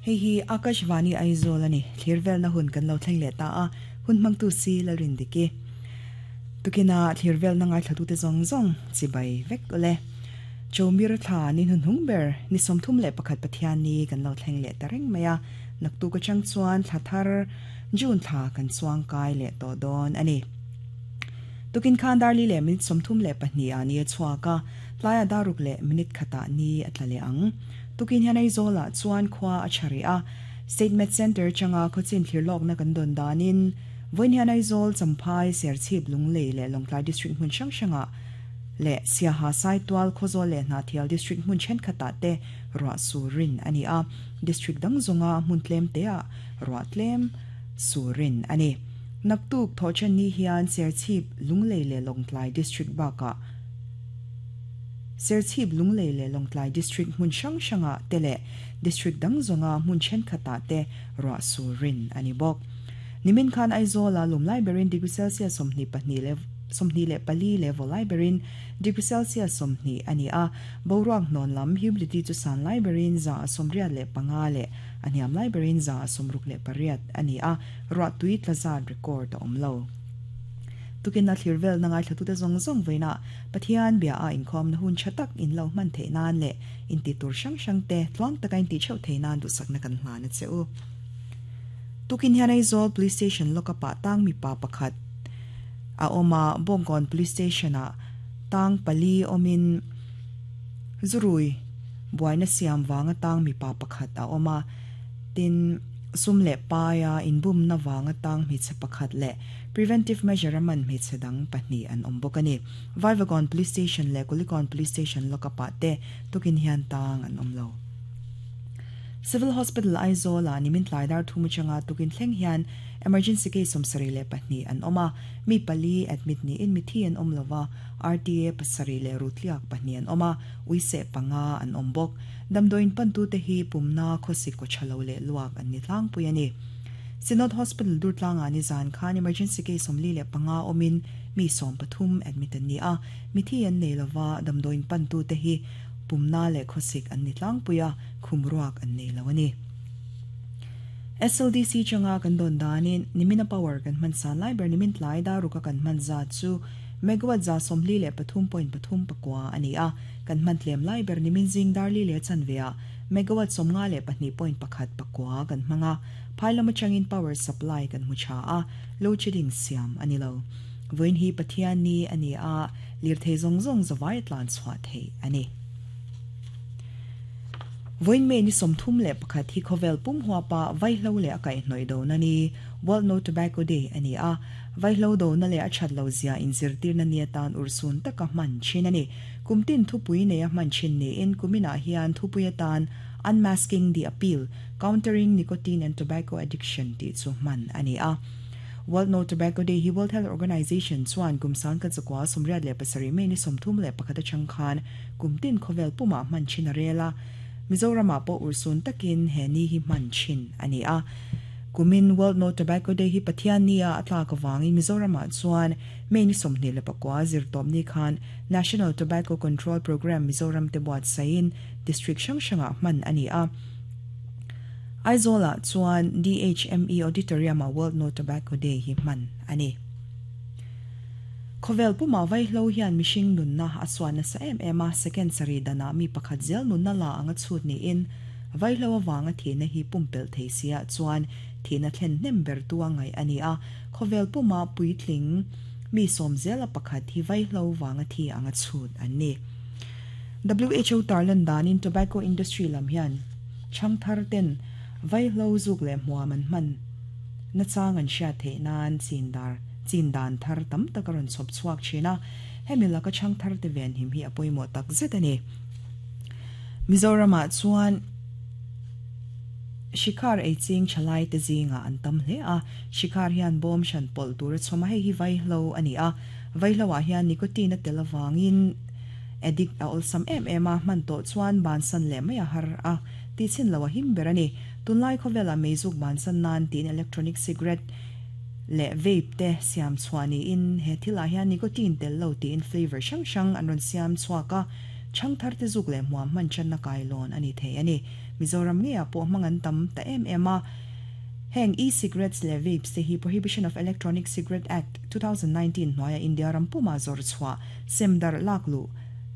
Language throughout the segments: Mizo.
Hei hi Akashvani Aizawl a ni. Thlir velna hun kan lo thleng leh ta a, hun hmangtu si Lalrindiki. Tukina thlir velna ngaithlatute zawng zawng chibai vek ule. Chawmir thla ni hnuhnung ber ni 31 Pathianni kan lo thleng leh ta reng mai a, naktuk atang chuan thla thar June thla kan chuang kai leh tawh dawn a ni. Tukin khan dar li leh minute 32 ah ni a chhuak a, tlaiah dar ruk leh minute khatah ni a tla leh ang. Tukin hian Aizawlah chuan khua a tha rih a, State Med Centre atanga khawchin thlir lawkna kan dawn danin vawiin hian Aizawl, Champhai, Serchhip, Lunglei leh Lawngtlai District hmun hrang hrangah leh Siaha, Saitual, Khawzawl leh Hnahthial District hmun thenkhatah te ruah sur rin a ni a, District dang zawnga hmun tlem teah ruah tlem sur rin a ni. Naktuk thawhchen ni hian Serchhip, Lunglei leh Lawngtlai District bakah Serchhip, Lunglei leh Lawngtlai District hmun hrang hrangah te leh District dang zawnga hmun thenkhatah te ruah sur rin a ni bawk. Nimin khan Aizawla lum lai berin degree Celsius 22 leh 24 leh vaw lai berin degree Celsius 20 a ni a, boruak hnawn lam humidity chu san lai berin 85 leh a hniam lai berin 68 a ni a, ruahtui tla zat record a awm lo. Tukin a thlir velna ngaithlatute zawng zawng vawiinah Pathian bia a inkhawmna hun tha tak in lo hman theih nan leh inti tur hrang hrang te tluang taka inti theuh thei nan duhsakna kan hlan a che u. Tukin hian Aizawl Police Station lockup ah tang mipa pakhat a awm a, Bawngkawn Police Station ah tang pali awmin zurui buaina siam vanga tang mipa pakhat a awm a, tin sum leh paia inbumna vanga tang hmeichhe pakhat leh Preventive measure a man hmeichhe dang pahnih an awm bawk a ni. Vaivakawn Police Station leh Kulikawn Police Station lockup ah te tukin hian tang an awm lo. Civil Hospital Aizawl ah nimin tlai dar thum atanga tukin thleng hian emergency case 72 an awm a, mi pali admit niin mithi an awm lova, RTA pasarih leh rutliak pahnih an awm a, uiseh panga an awm bawk. Damdawiin pantute hi pumna khawsik kaw tha lo leh luak an ni tlangpui a ni. Synod Hospital Durtlangah nizan khan emergency case 45 awmin mi 13 admit an ni a, mithi an nei lova, damdawiin pantute hi pumna leh khawsik an ni tlangpui a, khum ruak an nei lo a ni. SLDC changa kan dawn danin nimina power kan hman san lai ber nimin tlai daruka kan hman zat chu megawatt 143.3 pakua a ni a, kan hman tlem lai ber nimin zing dar li leh chanve ah megawatt 52.1 pakua kan hmang a. Phai lam atangin power supply kan hmu tha a, load shedding siam a ni lo. Vawiin hi Pathian ni a ni a, lirthei zawng zawng zavai a tlan chhuah theih a ni. Vawiin May ni 31 hi khawvel pum huapa vaihlo leh a kaihhnawih dona ni, World No Tobacco Day, a ni a. Vaihlo dona leh a that lo zia inzirtirna ni atan urhsun taka hman thin a ni. Kum tin thupui neia hman thin niin kuminah hian thupui atan Unmasking the Appeal, Countering Nicotine and Tobacco Addiction tih chu hman a ni a. World No Tobacco Day hi World Health Organization chuan kum 1987 May ni 31 atang khan kum tin khawvel pumah hman thin a rel a. Mizoramah pawh urhsun takin he ni hi hman thin a ni a. Kumin World No Tobacco Day hi Pathian ni a a tlak avangin Mizoramah chuan May ni 29 zirtawp ni khan National Tobacco Control Programme Mizoram te buatsaihin District hrang hrangah hman a ni a. Aizawlah chuan DHME Auditorium-ah World No Tobacco Day hi hman a ni. Khawvel pumah vaihlo hian mihring nunna a suan nasa em em a, second sarih danah mi pakhat zel nunna la anga chhut niin vaihlo avanga thihna hi pumpelh thei siah chuan thihna thlen hnem ber tu a ngaih a ni a, khawvel puma puitling mi sawm zela pakhat hi vaihlo vanga thi anga chhut an ni. WHO tarlan danin tobacco industry lam hian chhang thar ten vaihlo zuk leh hmuam an hman nachang an hriat theih nan chin dar chin dan thar tam tak a rawn chhawp chhuak thin a, hemi laka chhang thar te venhim hi a pawimawh tak zet a ni. Mizoramah chuan Shikhar ei ching thalai te zingah an tam hle a, Shikhar hian bawm hran pawlh tur a chhawm a, hei hi vaihlo a ni a, vaihlo ah hian nicotine a tel avangin Addict a awlsam em em a, hman tawh chuan bansan leh mai a har a, tihchhin lo a him ber a ni. Tunlai khawvelah meizuk bansan nan tiin electronic cigarette leh vape te siam chhuah niin he thilah hian nicotine tel lo tiin flavour hrang hrang an rawn siam chhuak a. Ṭhangtharte zuk leh hmuam hman ṭanna kailawn a ni thei a ni. Mizoram ngeiah pawh hmang an tam ta em em a. Heng e-cigarettes leh vapes te hi Prohibition of Electronic Cigarette Act, 2019 hnuaia India ram puma zawr chhuah sem darh lak luh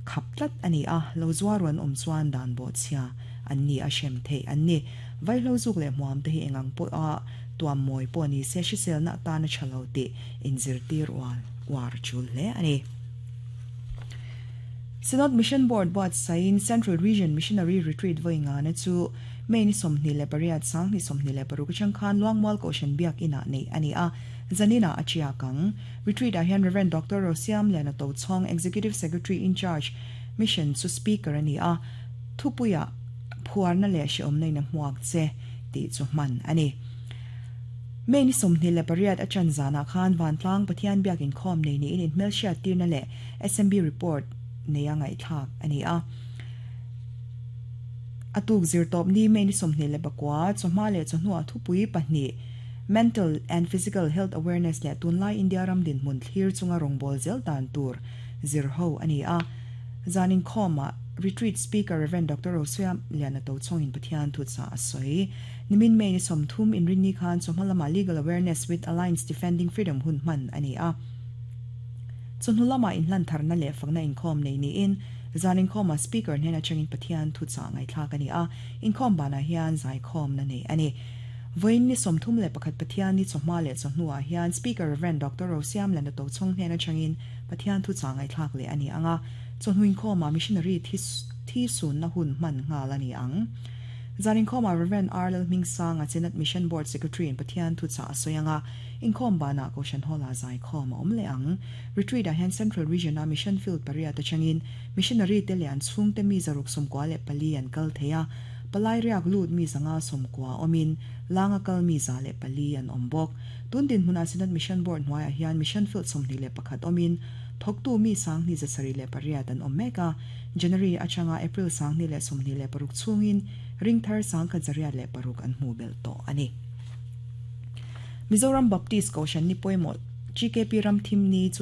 khap tlat a ni a, lo zuar an awm chuan dan bawhchhia an ni a hrem theih an ni. Vaihlo zuk leh hmuam te hi eng ang pawha tuam mawi pawh ni se hriselna atana tha lo tih inzirtir ual uar tul hle a ni. Synod Mission Board buatsaiin Central Region Missionary Retreat vawi ngana chu May ni 28, 2026 atang khan Luangmual Kohhran Biak Inah neih a ni a, zaninah a chiak ang. Retreat-ah hian Rev. Doctor Rosiamliana Tochhawng, Executive Secretary in Charge, Mission chu Speaker a ni a, thupuiah phuarna leh hrehawmna in a hmuak che tih chu hman a ni. May ni 28 a chan zanah khan Vantlang Pathian Biak Inkhawm nei niin inhmelhriat tirna leh SMB report neia ngaihthlak a ni a. A tuk zirtawp ni May ni 29 chawhma leh chawhnuah thupui pahnih Mental and Physical Health Awareness leh tunlai India ram dinhmun thlir chunga rawngbâwl zel dan tur zir ho a ni a. Zan inkhawmah Retreat Speaker Rev. Doctor Rosuia Liana Tochhawngin Pathian thutsa a sawi. Nimin May ni 30 inrinni khan chawhma lamah Legal Awareness with Alliance Defending Freedom hun hman a ni a. Chawhnu lamah inhlan tharna leh fakna inkhawm nei niin zan inkhawmah Speaker hnen atangin Pathian thuchah ngaihthlak a ni a, inkhawm banah hian zaikhawmna neih a ni. Vawiin ni 31 Pathian ni chawhma leh chawhnuah hian Speaker Rev. Doctor Rosiamlana Tochhawng hnen atangin Pathian thuchah ngaihthlak leh a ni ang a, chawhnu inkhawmah Missionary thi sunna hun hman nghal a ni ang. Zan inkhawmah Rev. R. Lalhmingsanga Synod Mission Board Secretary-in Pathian thuchah a sawi ang a, Inkhawm banah Kohhran Hall-ah zaikhawm a awm leh ang. Retreat-ah hian Central Region-a Mission Field pariat atangin Missionary te leh an chhungte mi 694 an kal thei a, palai riak lut mi 590 awmin langa kal mi 104 an awm bawk. Tun dinhmunah Synod Mission Board hnuaiah hian Mission Field 21 awmin thawktu mi 2708 an awm mek a, January atanga April 2026 chhungin ringthar 1106 an hmuh belh tawh a ni. Mizoram Baptist Kohhran ni pawimawh GKP Ramthim ni chu.